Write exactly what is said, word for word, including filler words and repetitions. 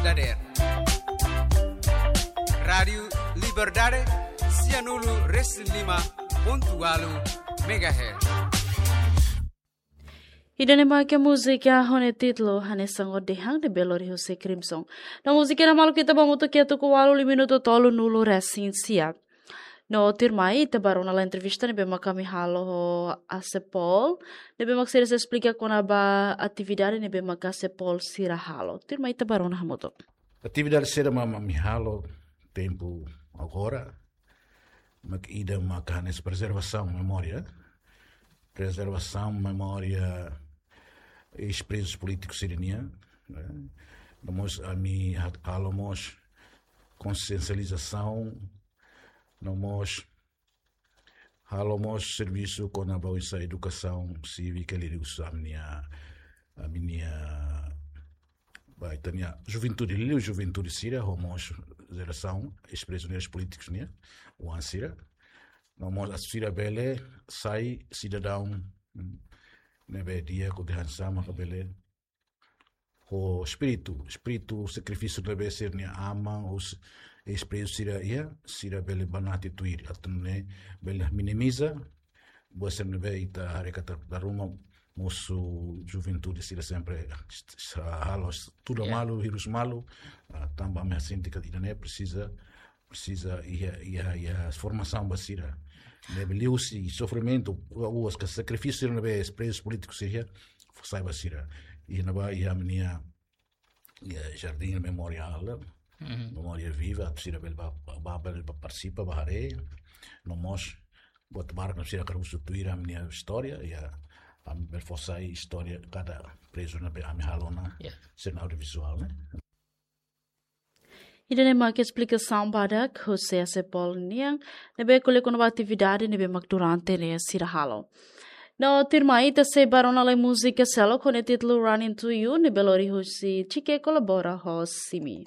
Dader. Rádiu Liberdade, sianulu resin lima pontu ualu megahertz. Ida-ne'e mak múzika ho nia títulu Hanesan Ó Dehan ne'ebé lori husi Crimson. No múzika ne'e maluk ita ba hamutuk iha tuku ualu liu minutu tolunulu resin sia. No tuirmai ita bá rona lai entrevista ne'ebé mak ami halo ho ACEPOL, ne'ebé mak sira sei esplika kona-ba atividade ne'ebé mak ACEPOL sira halo. Tuirmai ita bá rona hamutuk. Atividade sira mak ami halo tempu agora, mak ida mak hanesan prezervasaun memória. Prezervasaun memória eis-prezus polítikus sira-nian, eh. No mós ami ha-, halo mós konsiensializasaun, no mós halo mós servisu kona-ba oinsá edukasaun sívika liuhusi ami-nia, ami-nia, ba, ita-nia juventude, liuliu juventude sira, ho mós jerasaun eis-prezus polítikus nian, oan sira. No mós atu sira bele sai sidadaun, mm, ne'ebé di'ak, ho dehan sá mak bele ho espíritu, espíritu sakrifísiu ne'ebé sira-nia aman, os eis-prezus sira iha, sira bele banati tuir, atu nune'e bele minimiza buat sira ne'ebé ita haree katak dala ruma mosu juventude sira sempre s-, s-, halo s-, tuda, ya, malu, hirus malu, ah, tanba ami sente katak ida-ne'e presiza, presiza iha, iha, iha formasaun ba sira. Ne'ebé liuhusi sofrimentu, ua-, uas ka sakrifísiu ne'ebé eis-prezus polítikus sira iha, fó sai ba sira. Iha ne'ebá iha ami-nia, iha Jardim Memorial, mhm, Memória Viva, atu sira bele ba, ba, ba, bele ba partisipa, ba haree. No mós buat barak ne'ebé sira hakarak husu tuir ami-nia istória, iha, ami bele fó sai istória kada prezu ne'ebé ami halo ona, ya, sira-nia audiovizuál, ne'e. Ida-ne'e mak esplikasaun badak husi ACEPOL nian, ne'ebé ko'alia kona-ba atividade ne'ebé mak durante ne'e sira halo. No tuirmai ita sei bá rona lai múzika seluk ho nia títulu Running to You, ne'ebé lori husi Chike kolabora ho Simi.